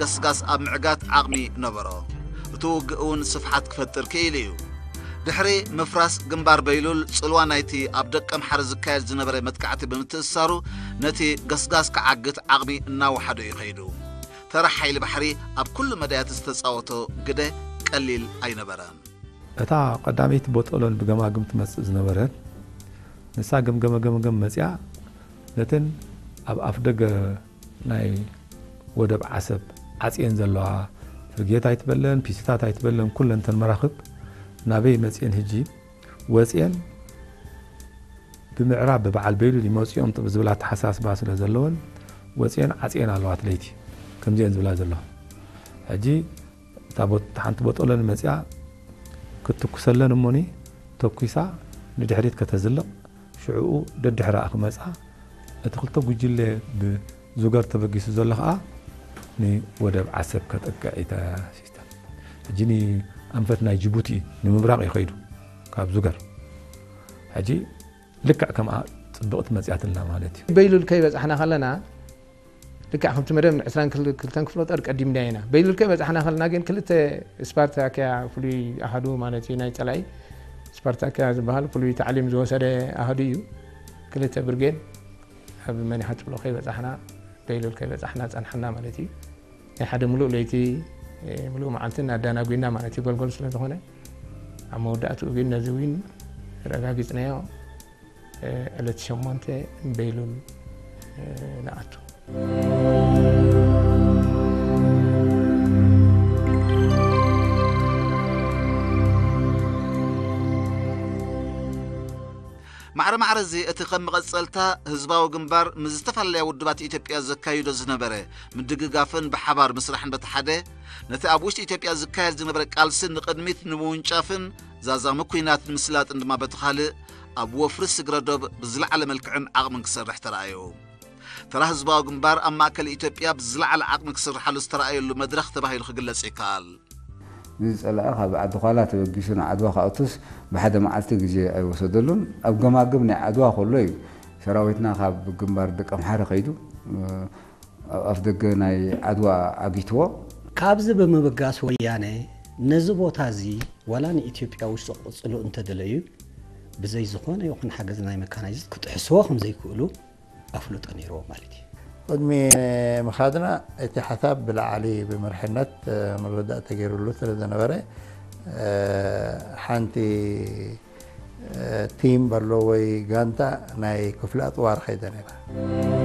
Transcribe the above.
ገስጋስ ኣብ ምዕጋት ዓቕሚ ነበሮ። እቲ ውግእ እውን ስፍሓት ክፈጥር ክኢሉ እዩ። ድሕሪ ምፍራስ ግንባር በይሉል፣ ጽልዋ ናይቲ ኣብ ደቀምሓረ ዝካየድ ዝነበረ መጥቃዕቲ ብምትእስሳሩ፣ ነቲ ገስጋስ ክዓግት ዓቕሚ እናወሓዶ እዩ ከይዱ። ተራ ሓይሊ ባሕሪ ኣብ ኩሉ መዳያት ዝተጻወቶ ግደ ቀሊል ኣይነበረን። እታ ቀዳመይቲ ቦጦሎን ብገማግም ትመጽእ ዝነበረት፣ ንሳ ገምገመ ገምገም መጺኣ፣ ነተን ኣብ ኣፍደገ ናይ ወደብ ዓሰብ ዓጽየን ዘለዋ፣ ፍርጌት ኣይትበለን፣ ፒሲታት ኣይትበለን፣ ኩለን ተን መራኽብ ናበይ መጽየን፣ ህጂ ወጽየን ብምዕራብ ብበዓል በይሉል ይመጽኦም ዝብል ኣተሓሳስባ ስለ ዘለወን፣ ወጽየን ዓጽየን ኣለዋ። እቲ ለይቲ ከምዚአን ዝብላ ዘለዋ። ሕጂ እታ ቦ-፣ ሓንቲ ቦጦሎኒ መጺኣ ክትትኩሰለን እሞኒ፣ ተኩሳ ንድሕሪት ከተዝልቕ፣ ሽዕኡ ደድሕራኣ ክመጻ፣ እቲ ክልተ ጉጅለ ብዙገር ተበጊሱ ዘሎ ኸኣ ንወደብ ዓሰብ ከጥቅዕ እዩ ተሲስተም። ሕጂ ንኣንፈት ናይ ጅቡቲ እዩ፣ ንምብራቕ እዩ ከይዱ ካብ ዙገር። ሕጂ ልክዕ ከምኣ ጽብቕቲ መጺኣትልና ማለት እዩ። በይሉል ከይበጻሕና ከለና፣ ልክዕ ከምቲ መደብ ዕስራን ክልተን ክፍለ ጦር ቀዲምና ኢና። በይሉል ከይበጻሕና ከለና ግን ክልተ ስፓርታክያ ፍሉይ ኣሃዱ ማለት እዩ፣ ናይ ጸላኢ ስፓርታክያ ዝበሃል ፍሉይ ታዕሊም ዝወሰደ ኣሃዱ እዩ። ክልተ ብርጌድ ኣብ መኒሓ ጽብሎ ከይበጻሕና፣ በይሉል ከይበጻሕና ጸንሓና ማለት እዩ። ናይ ሓደ ምሉእ ለይቲ፣ እ፣ ምሉእ መዓልቲ እናዳናጒና ማለት እዩ፣ ጎልጎል ስለ ዝኾነ። ኣብ መወዳእትኡ ግን ነዚ ዊን ረጋጊጽናዮ። እ፣ ዕለት ሸሞንተ በይሉል፣ እ፣ ንኣቱ። ማዕረ ማዕረ እዚ፣ እቲ ከም መቐጸልታ ህዝባዊ ግንባር ምስ ዝተፈላለያ ውድባት ኢትዮጵያ ዘካይዶ ዝነበረ ምድግጋፍን ብሓባር ምስራሕን በቲ ሓደ፣ ነቲ ኣብ ውሽጢ ኢትዮጵያ ዝካየድ ዝነበረ ቃልሲ ንቕድሚት ንምውንጫፍን ዛዛሚ ኲናት ንምስላጥን ድማ በቲ ካልእ፣ ኣብ ወፍሪ ስግረ ዶብ ብዝለዓለ መልክዕን ዓቕምን ክሰርሕ ተራእዩ። ተራ ህዝባዊ ግንባር ኣብ ማእከል ኢትዮጵያ ብዝለዓለ ዓቕሚ ክስርሓሉ ዝተራእየሉ መድረኽ ተባሂሉ ክግለጽ ይከኣል። እዚ ጸላኢ ካብ ዓዲ ዃላ ተበጊሱ ንዓድዋ ክኣቱስ ብሓደ መዓልቲ ግዜ ኣይወሰደሉን። ኣብ ገማግም ናይ ዓድዋ ከሎ እዩ ሰራዊትና ካብ ግንባር ደቀምሓረ ከይዱ፣ እ፣ ኣብ ኣፍ ደገ ናይ ዓድዋ ዓጊትዎ። ካብዚ ብምብጋስ ወያነ ነዚ ቦታ እዚ ዋላ ንኢትዮጵያ ውሽጢ ክቕጽሉ እንተደለዩ ብዘይ ዝኾነ ይኹን ሓገዝ ናይ መካናይዝድ ክጥሕስዎ ከም ዘይክእሉ ኣፍልጦ ነይርዎ ማለት እዩ። ቅድሚ ምኻድና እቲ ሓሳብ ብላዕሊ ብመርሕነት፣ እ፣ ምርዳእ ተገይሩሉ ስለ ዝነበረ፣ እ፣ ሓንቲ፣ እ፣ ቲም በሎ ወይ ጋንታ ናይ ክፍለ ኣጽዋር ኸይደ ነይራ።